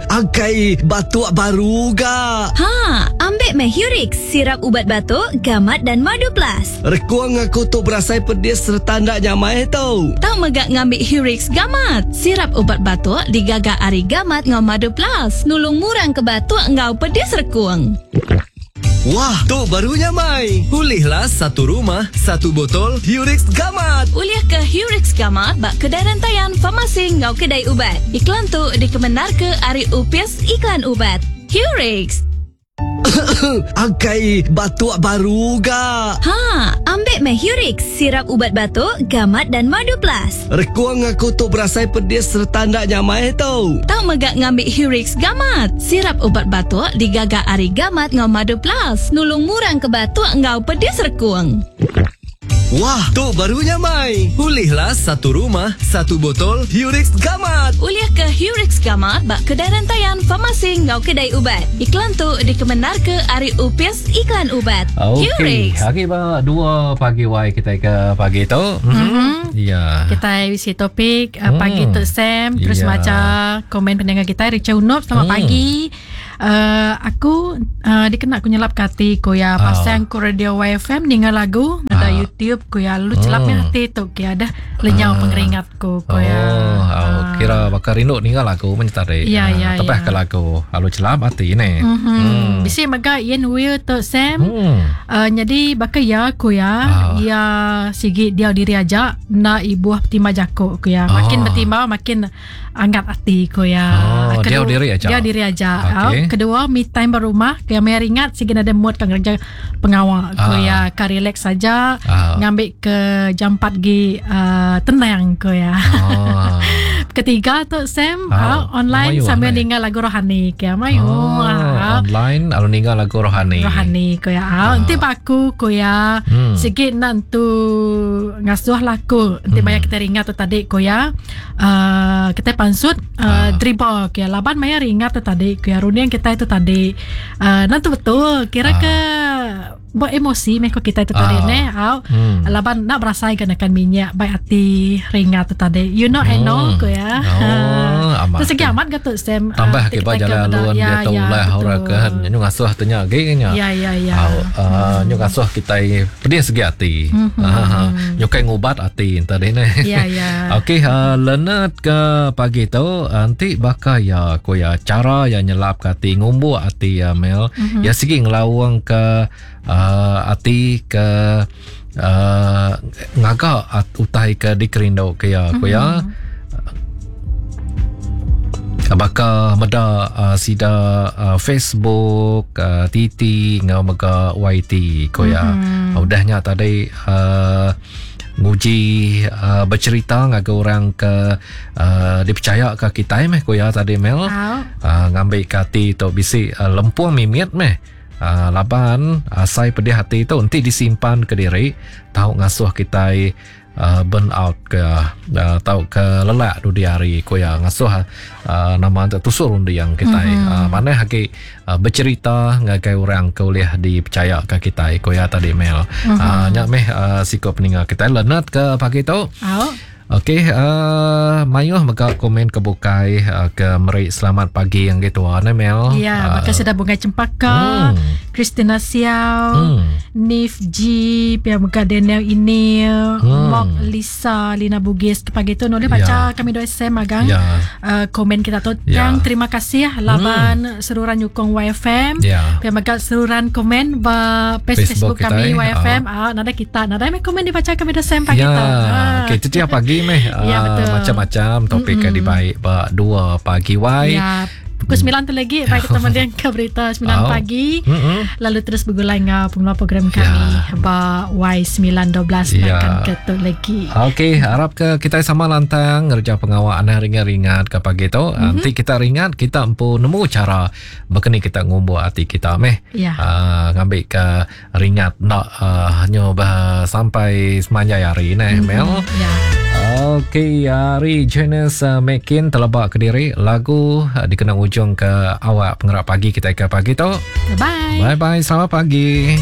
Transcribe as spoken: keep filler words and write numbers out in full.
Angkai batuk baru ga. Ha, ambil meh Hurix, sirap ubat batuk, gamat dan madu plus. Rekuang aku tu berasai pedis serta ndak nyamai tau. Tau megak ngambil Hurix gamat. Sirap ubat batuk digaga ari gamat ngau madu plus. Nulung murang ke batuk ngau pedis rekuang. Wah, tu baru nyamai. Pulihlah satu rumah, satu botol Hurix Gamat. Ulih ke Hurix Gamat bak kedai rentayan farmasi ngau kedai ubat. Iklan tu dikemenar ke ari Upis Iklan Ubat. Hurix. Angkai batuk baru ga. Ha, ambil meh Hurix, sirap ubat batuk, gamat dan madu plus. Rekuang aku tu berasai pedis serta ndak nyamai tau. Tau megak ngambil Hurix Gamat. Sirap ubat batuk digaga ari gamat ngau madu plus. Nulung murang ke batuk ngau pedis rekuang. Wah, tu baru nyamai. Pulihlah satu rumah, satu botol Hurix Gamat. Ulih ke Hurix Gamat bak kedai rentayan farmasi ngau kedai ubat. Iklan tu dikemenar ke ari Upis Iklan Ubat. Okey, Hurix. hari ba dua pagi wai kita ke pagi tu. Mm-hmm. Ya. Kita isi topik uh, pagi Hmm. tu Sam terus Ya. baca komen pendengar kita Richard Unop selamat Hmm. pagi. Uh, aku uh, dikena aku nyelap kati ko ya Ah. pasang ko radio Y F M ninga lagu ada Ah. YouTube ko ya lu celapnya Hmm. hati tu ki ada lenyau Ah. pengeringat ko ko ya. Oh, oh, kira bakal rindu ninga lagu menyetari. Ya, ya, Tepah ya. ke lagu. Lalu celap hati ni. Mm-hmm. Hmm. Bisi mega Ian Will tu Sam. Hmm. Uh, jadi bakal ya ku ya Ah. ya sigi dia diri aja nak ibu bertimba jako ku ya makin Ah. bertimba makin angkat hati ku ya Oh, dia diri aja. dia diri aja. Okey. Ah, kedua me time berumah ku ya meringat sigi ada mood kan kerja pengawal ku Ah. ya ka relax saja Ah. ngambil ke jam empat gi uh, tenang ku ya. Oh. Ketiga tu Sam Ah, ah, online mayu, sambil mayu. ninga lagu rohani ke mayu. Oh, Ah, online lalu ninga lagu rohani. rohani ko ya. Ah, nanti baku ko ya. Hmm. Sikit nak tu ngasuh laku. Nanti Hmm. banyak kita ringat tu tadi ko ya. Uh, kita pansut uh, Ah. driba ko ya. Laban maya ringat tu tadi ko ya. Runian kita itu tadi. Uh, nanti betul kira Ah. ke buat emosi meh ko kita itu tadi Ah. ne. Au. Hmm. Laban nak berasai kenakan minyak baik hati ringat tu tadi. You know I know Hmm. ko ya. Oh, amat. Tu segi amat ke tu Sam. Tambah Ah, ke kita ba jalan ke luan ya, dia tahu ya, lah orang betul. ke nyu ngasuh tanya ge nya. Ya ya ya. Au, uh, nyu ngasuh kita pedih segi hati. Mhm. Ah, nyu kai ngubat hati tadi ni. Ya ya. Okey, uh, Leonard ke pagi tu nanti bakal ya ko ya cara ya nyelap ke hati ngumbuk hati ya Mel. Mhm. Ya sigi ngelawang ke uh, hati ke uh, ngagak at, utai ke dikerindu ke ya ko ya. Mhm. Baka meda uh, sida uh, Facebook uh, T T ngau mega Y T ko ya. Mhm. Mm-hmm. Udahnya tadi uh, nguji uh, bercerita ngagai orang ke uh, dipercaya ke kita meh ko ya tadi Mel. Au. Uh, ngambil ke hati tu bisi uh, lempung mimit meh. Uh, laban asai pedih hati tu nanti disimpan ke diri tau ngasuh kita uh, burn out ke uh, tau ke lelak du di hari ko ya ngasuh uh, nama tu tusur undi yang kita mm-hmm. uh, mana haki uh, bercerita ngagai orang ke boleh dipercaya ke kita ko ya tadi Mel. Mm-hmm. Uh, nyak meh uh, sikap peninga kita Leonard ke pagi tu. Au. Okey, uh, mayuh mega komen ke bukai uh, ke meri selamat pagi yang gitu ah, ne Mel. Ya, Ah, bakal sudah Bunga Cempaka, Hmm. Christina Siao, Hmm. Nif G, pihak mega Daniel Inil, Hmm. Mok Lisa, Lina Bugis. Pagi tu noleh baca Ya. kami doa S M agang. Ya. Uh, komen kita tu. Ya. Yang terima kasih laban seruran nyukong Y F M. Ya. Pihak mega seruran komen ba page Facebook Facebook, kami kita, eh. Y F M. Ah, nada kita, nada meh komen dibaca kami doa S M pagi Ya, tu. Ah. okey itu tiap pagi meh. Ya, Ah, betul. macam-macam topik mm-hmm. dibaik ba dua pagi wai. Ya, pukul sembilan tu lagi baik kita mendengar ke berita sembilan Oh. pagi. Mm-mm. Lalu terus bergulai dengan pengeluar program kami Ya. ba Y sembilan dua belas Ya. akan ketuk lagi. Okey, harap ke kita sama lantang ngerja pengawal anda ringan-ringan ke pagi tu. Mm-hmm. Nanti kita ringan, kita empu nemu cara berkeni kita ngumbu hati kita meh. Ya. Uh, ngambil ke ringat nak uh, nyoba sampai semanjai hari ni, mm-hmm. Mel. Ya. Okey, hari Jonas uh, Mekin terlebak ke diri lagu uh, dikena ujung ke awak pengerak pagi kita ke pagi tu. Bye. Bye bye, selamat pagi.